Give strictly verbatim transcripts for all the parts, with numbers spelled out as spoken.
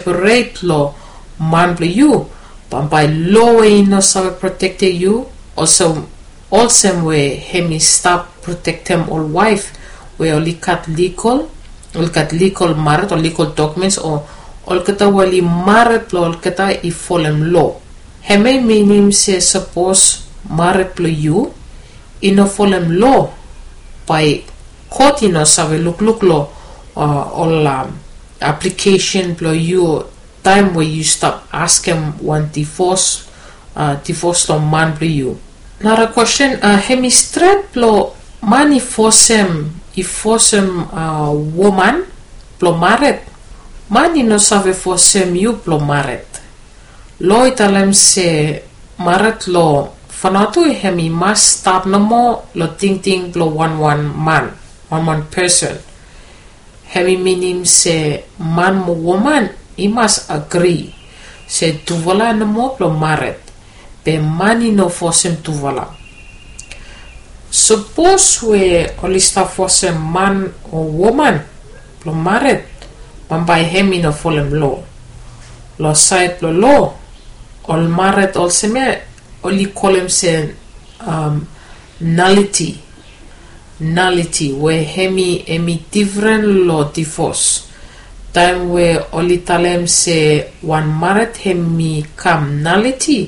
separet long man blong yu, bambae loa we i no save protektem yu, olsem we hem i stap protektem ol waef we oli gat likol, oli gat likol maret o likol dokumens o olgeta we oli maret blong olgeta i folem loa. Hemia i minim se sapos maret blong yu i no folem loa, bae kot i no save lukluk long ol aplikesen blong yu taem we yu stap askem wan divos, divos long man blong yu. Nara kwesten, hem i stret blong man i fosem, i fosem woman blong maret. Man i no save fosem yu blong maret. Loa i talem se maret long Vanuatu hem i mas stap nomo long tingting blong wanwan man, wanwan pesen. Hem i minim se man mo woman i mas agri se tufala nomo blong maret, be man i no fosem tufala. Sapos we oli stap fosem man o woman blong maret, bambae hem i no folem loa. Long saed blong loa, ol maret olsem ya oli kolem se naliti. Naliti we hem i, hem i difren long divos. Taem we oli talem se wan maret hem i kam naliti,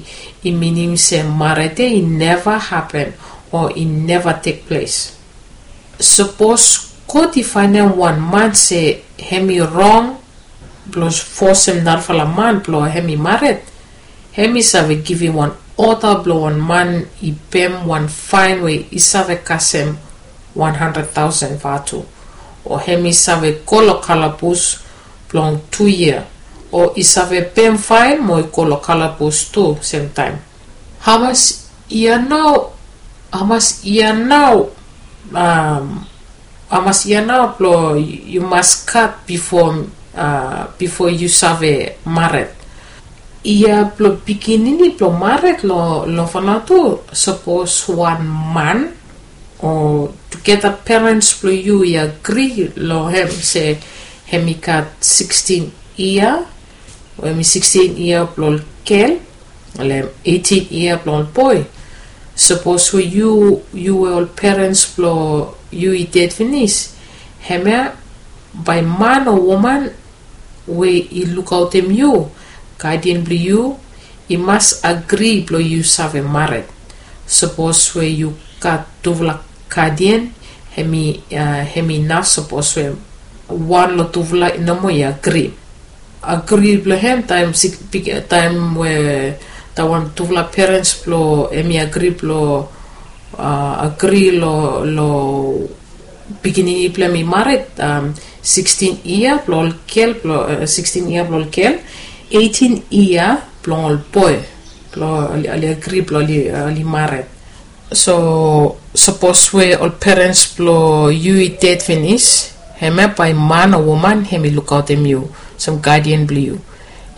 i minim se maret ya i neva hapen o i neva tekples. Sapos kot i faenem wan man se hem i rong blong fosem narafala man blong hem i maret, hem i save givim wan oda blong wan man i pem wan faen we i save kasem wan handred taosen vatu, o hem i save go long kalabus blong tu yia, o i save pem faen mo i go long kalabus tu semtaem. Hamas yia nao, hamas yia nao, hamas yia nao blong yu mas gat bifo, bifo yu save maret? Yia blong pikinini blong maret long, long Vanuatu, sapos wan man o tugeta perens blong yu i agri long hem se hem i gat sikstin yia, o hem i sikstin yia blong ol gel, o hem eitin yia blong ol boe. Sapos we yu, yu we ol perens blong yu i ded finis, hemia bae man o woman we i lukaotem yu, gadian blong yu, i mas agri blong yu save maret. Sapos we yu gat tufala gadian, hem i, hem i naf sapos we wan long tufala nomo i agri. Agri blong hem taem, taem we taem wan tufala perens blong hem i agri blong, agri long, long pikinini blong hem i maret, sikstin yia blong ol gel, blong sikstin yia blong ol gel, eitin yia blong ol boe, blong oli agri blong oli maret. So sapos we ol perens blong yu i ded finis, hemia bae man o woman hem i lukaotem yu olsem gadian blong yu.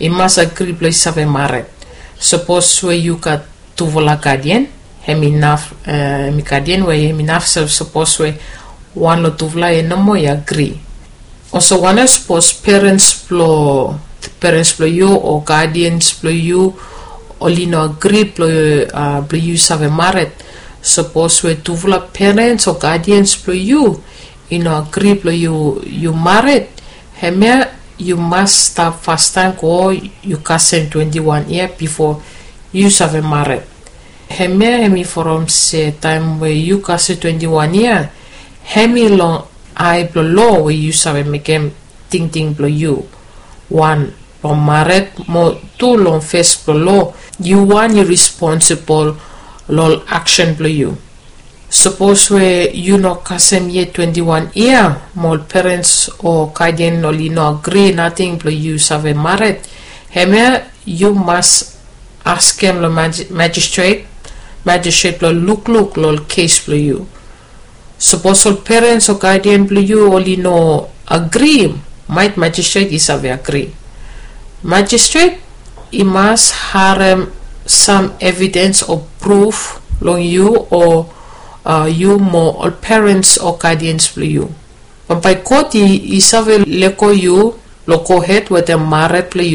I mas agri blong i save maret. Sapos we yu gat tufala gadian, hem i naf, hem i gadian we hem i naf sapos we wan long tufala ya nomo i agri. Olsem wanem sapos perens blong, perens blong yu o gadians blong yu oli no agri blong, blong yu save maret? Sapos we tufala perens o gadians blong yu i no agri blong yu, yu maret, hemia yu mas stap fastaem go yu kasem twenti wan yia bifo yu save maret. Hemia hem i from se taem we yu kasem twenti wan yia, hem i long ae blong loa we yu save mekem tingting blong yu. Wan, long maret, mo tu long fes blong loa, yu wan yu responsibol long ol aksen blong yu. Sapos we yu no kasem yet twenti wan yia, mo ol perens o gadian oli no agri nating blong yu save maret, hemia yu mas askem long majistret, majistret blong lukluk long ol kes blong yu. Sapos ol perens o gadian blong yu oli no agri, maet majistret i save agri. Majistret i mas harem sam evidens o pruf long yu o yu mo ol perens o gadians blong yu. Bambae kot i save lego yu long gohed wetem mared blong